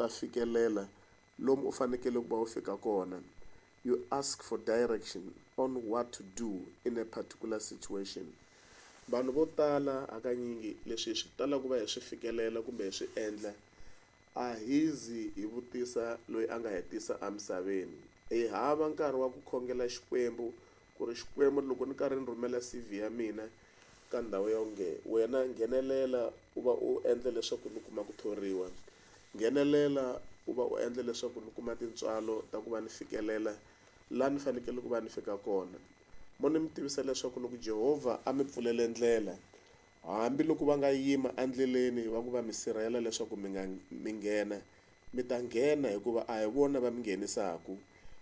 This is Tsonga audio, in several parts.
ta fikelela lomu u fanekele ku va u fika kona. You ask for direction on what to do in a particular situation. Vanhu vo tala hakanyingi leswi hi swi talaka ku va hi swi fikelela kumbe hi swi endla a hi zi hi vutisa loyi a nga hi tisa emisaveni. Hi hava nkarhi wa ku khongela Xikwembu ku ri Xikwembu loko ni karhi ni rhumela C_V ya mina ka ndhawu ya onge wena nghenelela u va u endla leswaku ni kuma ku thoriwa, nghenelela u va u endla leswaku ni kuma tintswalo ta ku va ni fikelela laha ni fanekele ku va ni fika kona. Mo ni mi tivisa leswaku loko Jehovha a mi pfulele ndlela hambiloko va nga yima endleleni va ku va mi sirhela leswaku mi nga mi nghena mi ta nghena hikuva a hi vona va mi nghenisaka.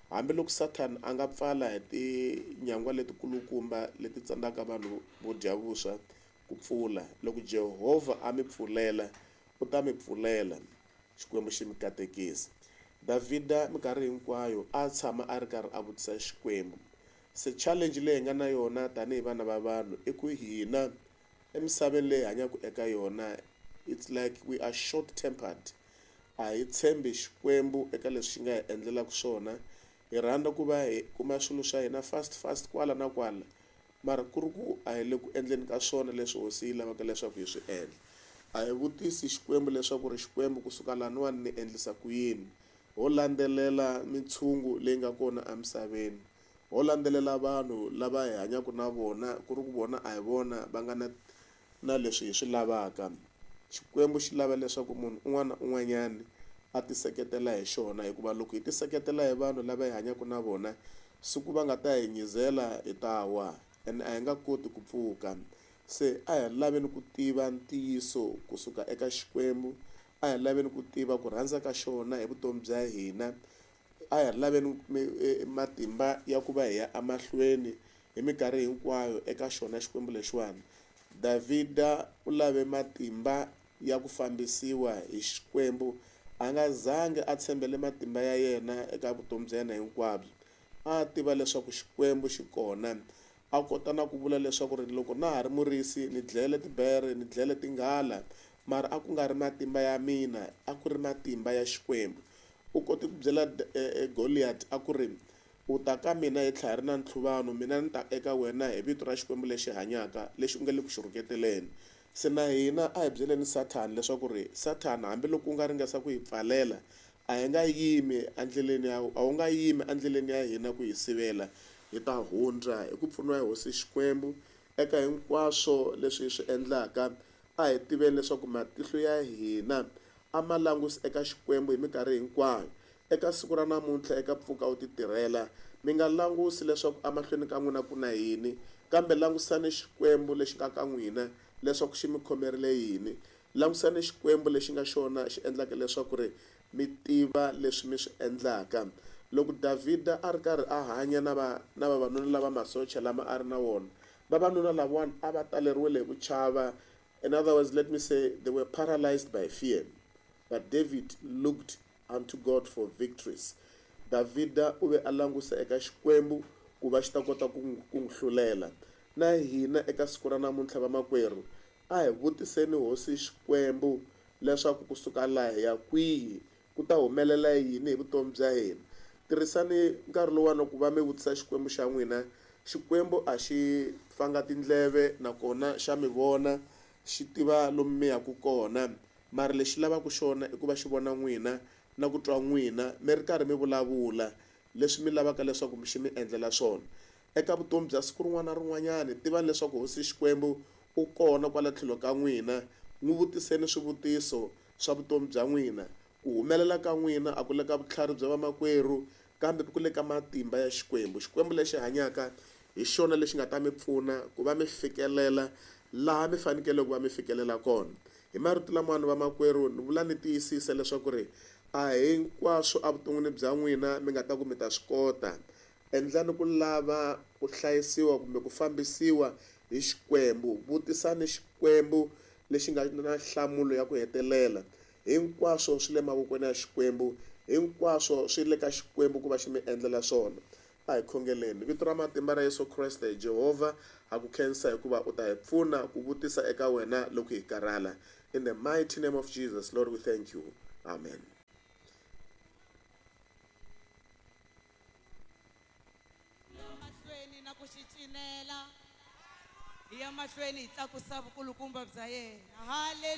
Hambiloko Sathana a nga pfala hi tinyangwa letikulukumba leti tsandzaka vanhu vo dya vuswa ku pfula loko Jehovha a mi pfulela u ta mi pfulela. Xikwembu xi mi katekisa. Davhida minkarhi hinkwayo a tshama a ri karhi a vutisa Xikwembu. Se challenge leyi hi nga na yona tanihi vana va vanhu i ku hina emisaveni leyi hi hanyaka eka yona it's like we are short tempered. A hi tshembi Xikwembu eka leswi xi nga hi endlelaka swona. Hi rhandza ku va hi kuma swilo swa hina fast fast kwala na kwala mara ku ri ku a hi le ku endleni ka swona leswi hosi yi lavaka leswaku hi swi endla. A hi vutisi Xikwembu leswaku ri Xikwembu kusuka laniwani ni endlisa ku yini. Ho landzelela mintshungu leyi nga kona emisaveni. Ho landzelela vanhu lava hi hanyaka na vona ku ri ku vona a hi vona va nga na na leswi hi swi lavaka. Xikwembu xi lava leswaku munhu un'wana na un'wanyana a ti seketela hi xona hikuva loko hi ti seketela hi vanhu lava hi hanyaka na vona siku va nga ta hi nyizela hi ta wa ene a hi nga koti ku pfuka. Se a hi laveni ku tiva ntiyiso kusuka eka Xikwembu, a hi laveni ku tiva ku rhandza ka xona hi vutomi bya hina, a hi laveni matimba ya ku va hi ya emahlweni hi minkarhi hinkwayo eka xona Xikwembu lexiwani. Davhida u lave matimba ya ku fambisiwa hi Xikwembu a nga zangi a tshembele matimba ya yena eka vutomi bya yena hinkwabyo. A tiva leswaku Xikwembu xi kona a kota na ku vula leswaku ri loko na ha ri murisi ni dlele tibere ni dlele tinghala mara a ku nga ri matimba ya mina a ku ri matimba ya Xikwembu. U kote ku byela Goliath a ku ri u ta ka mina hi tlhari na ntlhuvano mina ni ta eka wena hi vito ra Xikwembu lexi hanyaka lexi u nga le ku xi rhuketeleni. Se na hina a hi byeleni Sathana leswaku ri Sathana hambiloko u nga ringesa ku hi pfalela a hi nga yimi endleleni ya a wu nga yimi endleleni ya hina ku hi sivela. Hi ta hundza hi ku pfuniwa hi hosi Xikwembu eka hinkwaswo leswi hi swi endlaka. A hi tiveni leswaku matihlo ya hina a ma langusi eka Xikwembu hi minkarhi hinkwayo. Eka siku ra namuntlha eka Pfuka u ti tirhela mi nga langusi leswaku emahlweni ka n'wina ku na yini kambe langusani Xikwembu lexi nga ka n'wina leswaku xi mi khomerile yini. Langusani Xikwembu lexi nga xona xi endlaka leswaku ri mi tiva leswi mi swi endlaka. Loko Davhida a ri karhi a hanya na va na vavanuna lava masocha lama a ri na wona vavanuna lavawani a va taleriwile hi ku chava. In other words, let me say they were paralyzed by fear. But David looked unto God for victories. Davhida u ve a langusa eka Xikwembu ku va xi ta kota ku n'wi hlulela. Na hina eka siku ra namuntlha vamakwerhu a hi vutiseni hosi Xikwembu leswaku kusuka laha hi ya kwihi ku ta humelela yini hi vutomi bya hina. Tirhisani nkarhi lowuwani ku va mi vutisa Xikwembu xa n'wina. Xikwembu a xi fanga tindleve nakona xa mi vona xi tiva lomu mi yaka kona mara lexi lavaka xona i ku va xi vona n'wina na ku twa n'wina mi ri karhi mi vulavula leswi mi lavaka leswaku xi mi endlela swona. Eka vutomi bya siku rin'wana na rin'wanyana tivani leswaku hosi Xikwembu u kona kwala tlhelo ka n'wina. N'wi vutiseni swivutiso swa vutomi bya n'wina. Ku humelela ka n'wina a ku le ka vutlhari bya vamakwerhu kambe ku le ka matimba ya Xikwembu. Xikwembu lexi hanyaka hi xona lexi nga ta mi pfuna ku va mi fikelela laha mi fanekele ku va mi fikelela kona. Hi marito lamawani vamakwerhu ni vula ni tiyisisa leswaku ri a hinkwaswo evuton'wini bya n'wina mi nga ta ku mi ta swi kota. Endlani ku lava ku hlayisiwa kumbe ku fambisiwa hi Xikwembu. Vutisani Xikwembu lexi nga na nhlamulo ya ku hetelela. Hinkwaswo swi le mavokweni ya Xikwembu, hinkwaswo swi le ka Xikwembu ku va xi mi endlela swona. A hi khongeleni. Vito ra matimba ra Yesu Kreste, Jehovha ha ku khensa hikuva u ta hi pfuna ku vutisa eka wena loko hi karhala. In the mighty name of Jesus, Lord, we thank you. Amen. ku xi cinela hi ya mahlweni hi tlakusa vukulukumba bya yena. Haleluya.